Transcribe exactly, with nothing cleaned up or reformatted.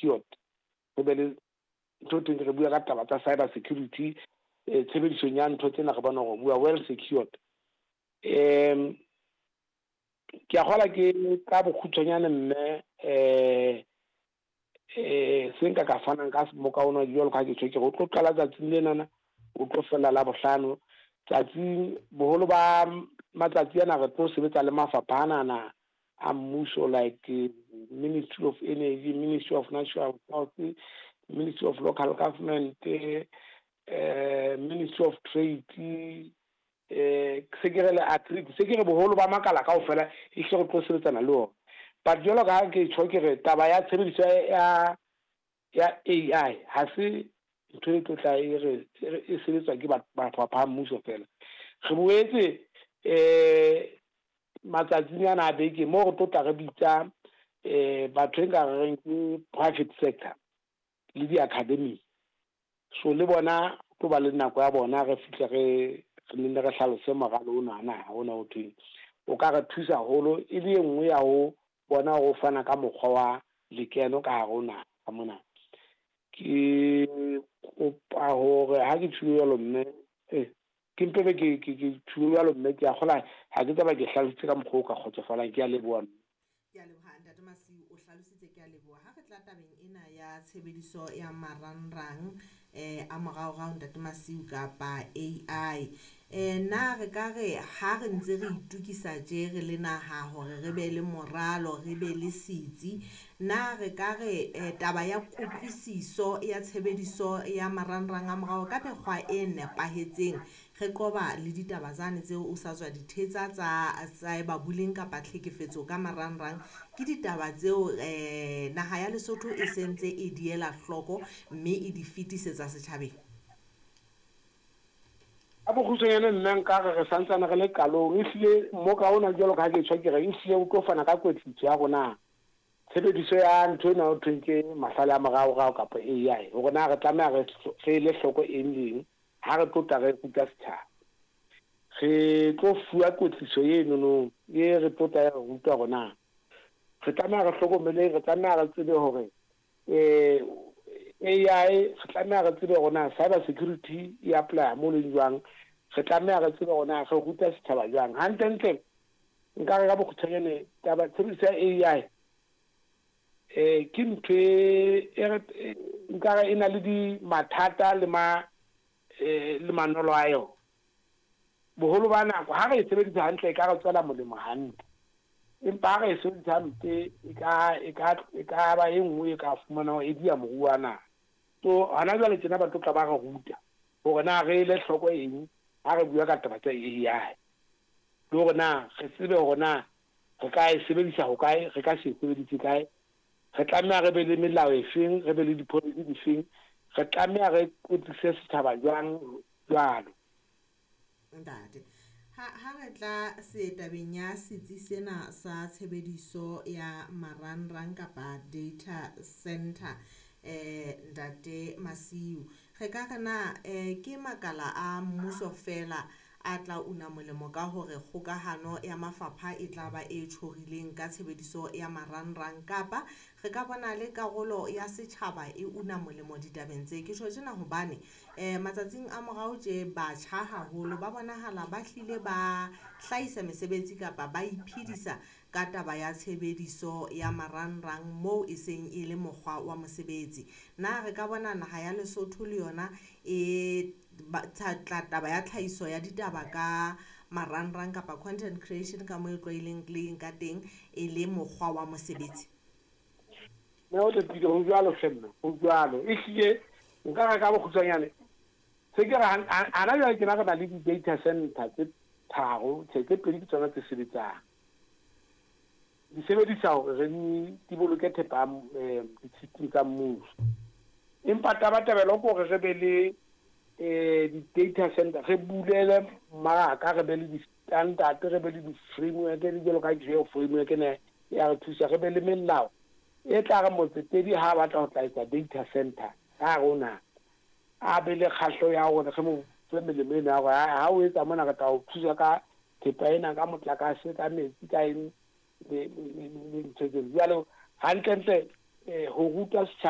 secured. Re be le ntho teng, re bua ka taba tsa cyber security, eh, tshebedisong ya ntho tsena re bona hore bua well secured. um Ke a kgola ke ka bokgutshwanyane mme, um um se nka ka fanang ka moka ona jwalo ka ha ke tjho, ke re o tlo qala tsatsing lenana, o tlo fella la bohlano tsatsing. Boholo ba matsatsi ana re tlo sebetsa le mafapha anana a mmuso, like Ministry of Energy, Ministry of Natural Resources, Ministry of Local Government, eh Ministry of Trade, eh se ke re le Agric, se ke re boholo ba makala kaofela e hle re tlo sebetsana le ona. But jwalo ka ha ke tjho, ke re taba ya tshebediso ya ya A I ha se ntho e tlo tla e re e sebetswa ke mafapha a mmuso fela. Re boetse eh matsatsing ana a beke mo re tlo tla re bitsa eh batho e nka re reng ke private sector le di-academy, so le bona tlo ba le nako ya bona, re fihle re re nne re hlalose moralo ona na ona o thweng o ka re thusa haholo, e le e nngwe ya ho bona hore o fana ka mokgwa wa lekeno ka hare ho naha ka mona. Ke kopa hore ha ke tjhulo jwalo mme, eh ke mpe be ke ke ke tjhulo jwalo mme, ke a kgola ha ke tsaba ke hlalositse ka mokgwa o ka kgotsofalang. Ke a leboha mme. Ke a leboha, Ntate Masiu, o hlalositse, ke a leboha. Ha re tla tabeng ena ya tshebediso ya marangrang eh a moraorao, Ntate Masiu, kapa A I, eh na re ka re ha re ntse re itukisa tje re le naha hore re be le moralo, re be le setsi, na re ka re eh, taba ya kutlwisiso ya tshebediso ya marangrang a morao ka mekgwa e nepahetseng, re qoba le ditaba tsane tseo o sa tswa di thetsa tsa cyber bullying kapa tlhekefetso ka marangrang, ke ditaba tseo eh naha ya Lesotho e sentse e di ela hloko mme e di fetisetsa setjhabeng? Ka bokgutshwanyane nna nka re re santsane re le qalong. Ehlile mmoka ona, jwalo ka ha ke tjho, ke re ehlile o tlo fana ka kwetliso ya rona tshebediso ya ntho ena ho thweng ke mahlale a moraorao kapa A I, hore na re tlameha re re ele hloko eng le eng ha re tlo tla re ruta setjhaba. Re tlo fuwa kwetliso enono e re tlo tla re ruta hore na re tlameha re hlokomeleng, re tlameha re tsebe hore eh A I, re tlameha re tsebe hore na cyber security e apply mo leng jwang, re tlameha re tsebe hore na re ruta setjhaba jwang. Hantlentle nka re ka bokgutshwanyane taba tshebediso ya A I eh ke ntho e e nka re e na le di mathata le ma eh le manolo a yona. Boholo ba nako ha re e sebedisa hantle, e ka re tswela molemo hantle, empa ha re e sebedisa hampe, e ka e ka e ka ba e nngwe e ka fumanang e dia moruo wa naha. So hona jwale tjena ba tlo tla ba re ruta hore na re ele hloko eng ha re bua ka taba tsa A I, le hore na re tsebe hore na re ka e sebedisa hokae, re ka se e sebedise kae, re tlameha re be le melao e feng, re be le di-policy difeng, re tlameha re kwetlise setjhaba jwang jwalo. Ntate, ha ha re tla se tabeng ya setsi sena sa tshebediso ya marangrang kapa data center, eh Ntate Masiu, re ka re na eh ke makala a mmuso fela a tla una molemo ka hore kgokahano ya mafapha e tla ba e tjhorileng ka tshebediso ya marangrang, kapa re ka bona le karolo ya setjhaba e una molemo ditabeng tse? Ke tjho tjena hobane eh matsatsing a morao tje batjha haholo ba bonahala ba hlile ba hlahisa mesebetsi kapa ba iphedisa ka taba ya tshebediso ya marangrang moo e seng e le mokgwa wa mosebetsi. Na re ka bona naha ya Lesotho le yona e tla taba ya tlhahiso ya ditaba ka marangrang kapa content creation ka moo e tlwaelehileng ka teng e le mokgwa wa mosebetsi? Mme o nepile, ho jwalo hle mme, ho jwalo. Ehlile nka re ka bokgutshwanyane se ke re hana jwale tjena re na le di-data center tse tharo, tjhe, tse pedi ke tsona tse sebetsang, di sebedisa hore re di boloke thepa ya di-system tsa mmuso. Empa tabatabelo ke hore re be le eh di-data center, re bulele mmaraka, re be le di-standard, re be le di-framework le jwalo ka geo framework ena ya re thusa, re be le melao e tla re motsetedi ha batla ho tla etsa data center ka hare ho naha, a be le kgahleho ya hore re mo fe melemo ena ya hore ha o etsa mona re tla o thusa ka thepa ena, ka motlakase, ka metsi, ka eng le ntho tseno jwalo. Hantlentle Eh ho ruta setjhaba